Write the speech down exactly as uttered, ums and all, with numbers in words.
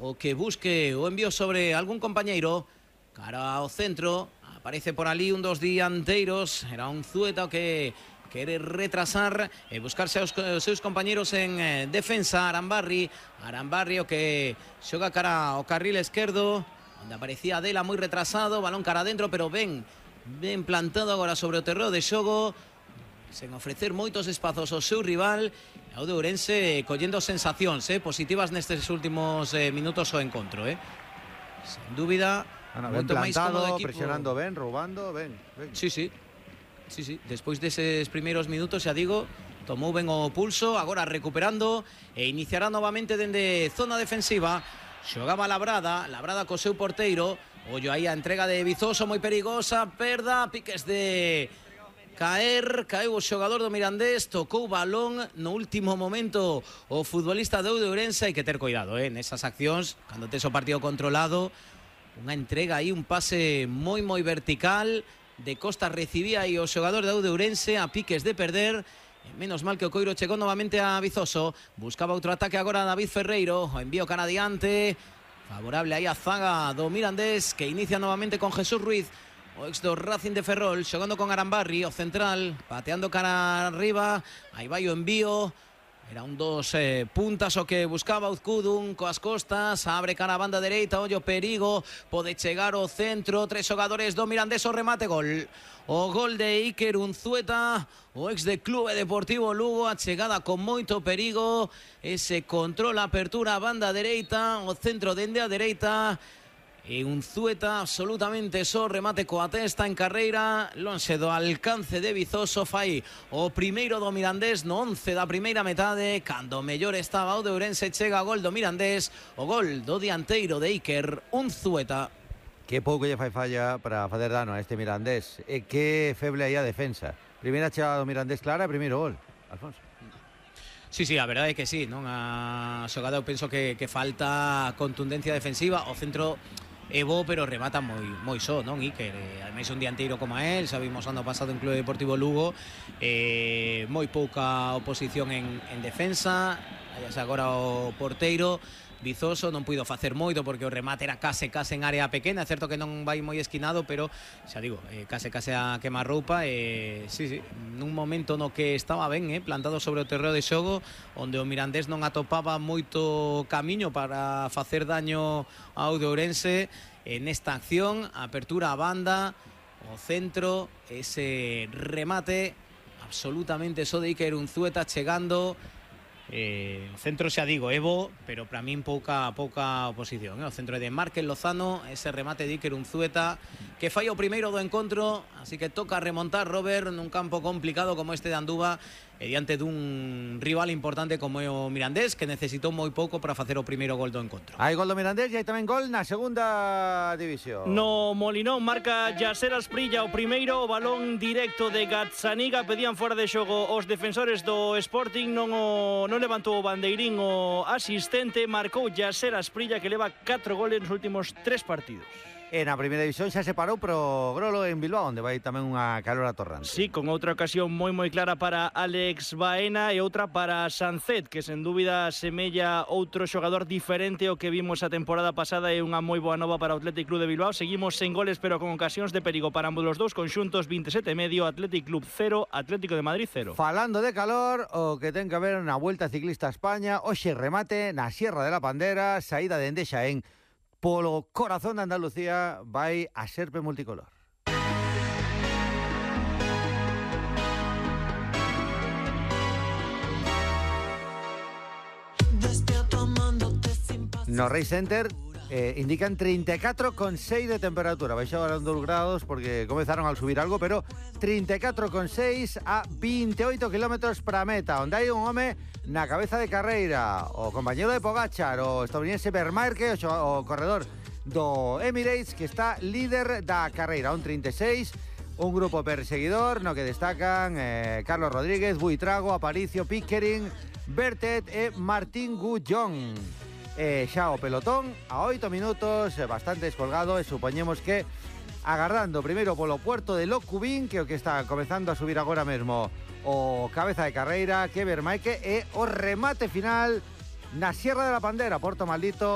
o que busque o envío sobre algún compañeiro. Cara ao centro, aparece por ali un dos dianteiros, era un Zueta que quere retrasar e buscarse aos seus compañeros en eh, defensa. Arambarri, Arambarri o que xoga cara ao carril esquerdo, onde aparecía Adela moi retrasado, balón cara adentro, pero ben, ben plantado agora sobre o terreo de xogo, sen ofrecer moitos espazos ao seu rival. E o de Ourense collendo sensacións eh, positivas nestes últimos eh, minutos o encontro, eh. Sen dúbida, bueno, ben plantado, presionando ben, roubando, ben, ben. Sí, sí. Sí, sí, despois deses primeiros minutos, xa digo, tomou ben o pulso, agora recuperando e iniciará novamente dende zona defensiva. Xogaba Labrada, Labrada co seu porteiro, ollo aí a entrega de Vizoso moi perigosa, perda, piques de caer, caeu o xogador do Mirandés, tocou balón no último momento o futbolista de Ourense. Hai que ter cuidado, eh, nesas accións, cando tes o partido controlado, unha entrega aí, un pase moi moi vertical, de Costa recibía aí o xogador de Ourense a piques de perder. Menos mal que o Coiro chegou novamente a Vizoso, buscaba outro ataque agora a David Ferreiro, o envío cara adiante, favorable aí a zaga do Mirandés, que inicia novamente con Jesús Ruiz, o ex do Racing de Ferrol, xogando con Arambarri, o central, pateando cara arriba, aí vai o envío. Era un dos eh, puntas o que buscaba Uzcudun coas costas, abre cara a banda dereita, ollo perigo, pode chegar ao centro, tres xogadores do Mirandés, o remate, gol. O gol de Iker Unzueta, o ex de Clube Deportivo Lugo, a chegada con moito perigo, ese control, apertura a banda dereita, o centro dende a dereita, e Unzueta absolutamente só, remate coa testa en carreira, lonxe do alcance de Vizoso. Fai o primeiro do Mirandés no once da primeira metade, cando mellor estaba o de Ourense. Chega a gol do Mirandés, o gol do dianteiro de Iker Unzueta. Que pouco lle fai falla para fazer dano a este Mirandés, e que feble aí a defensa. Primeira chegada do Mirandés clara, primeiro gol, Alfonso. Sí, sí, a verdade é que sí, non? A xogada eu penso que, que falta contundencia defensiva, o centro é bo, pero remata moi moi só, non? Iker, eh, ademais un dianteiro como a él, sabimos ano pasado en Clube Deportivo Lugo, eh, moi pouca oposición en, en defensa, allá agora o porteiro Vizoso non puido facer moito porque o remate era case case en área pequena. É certo que non vai moi esquinado, pero xa digo, eh, case case a quemarroupa. E eh, sí, sí, nun momento no que estaba ben, eh, plantado sobre o terreo de xogo, onde o Mirandés non atopaba moito camiño para facer daño ao de Ourense. En esta acción, apertura a banda, o centro, ese remate absolutamente só de Iker Unzueta chegando. Eh, o centro xa digo, Evo, pero para min pouca pouca oposición, eh? O centro é de Márquez Lozano, ese remate de Iker Unzueta que fai o primeiro do encontro, así que toca remontar, Robert, nun campo complicado como este de Anduva, e diante dun rival importante como é o Mirandés, que necesitou moi pouco para facer o primeiro gol do encontro. Hai gol do Mirandés e hai tamén gol na segunda división. No Molinón marca Yaser Asprilla o primeiro, o balón directo de Gazzaniga, pedían fora de xogo os defensores do Sporting, non o non levantou o bandeirín o asistente, marcou Yaser Asprilla, que leva catro goles nos últimos tres partidos. E na primeira división xa se parou pro Grolo en Bilbao, onde vai tamén unha calor atorrante. Sí, con outra ocasión moi moi clara para Alex Baena e outra para Sancet, que sen dúbida semella outro xogador diferente ao que vimos a temporada pasada, e unha moi boa nova para o Athletic Club de Bilbao. Seguimos sen goles, pero con ocasións de perigo para ambos os dous conxuntos. Veinte e sete e medio, Athletic Club cero, Atlético de Madrid cero. Falando de calor, o que ten que haber na Vuelta Ciclista a España, hoxe remate na Sierra de la Pandera, saída dende Xaén, polo corazón de Andalucía, vai a Serpe multicolor. No Race Center eh, indican treinta e catro coma seis de temperatura. Baixaron dos grados porque comezaron a subir algo, pero treinta e catro coma seis a veintioito kilómetros para a meta, onde hai un home na cabeza de carreira, o compañero de Pogačar, o estadounidense Vermaerke, o, o corredor do Emirates, que está líder da carreira, un trinta e seis, un grupo perseguidor no que destacan eh, Carlos Rodríguez, Buitrago, Aparicio, Pickering, Bertet e Martín Gullón. Eh, xa o pelotón a oito minutos, eh, bastante descolgado, e supoñemos que agardando primeiro polo puerto de Locubín, que é o que está comezando a subir agora mesmo o cabeza de carreira, que Vermaerke, e o remate final na Sierra de la Pandera, Porto Maldito.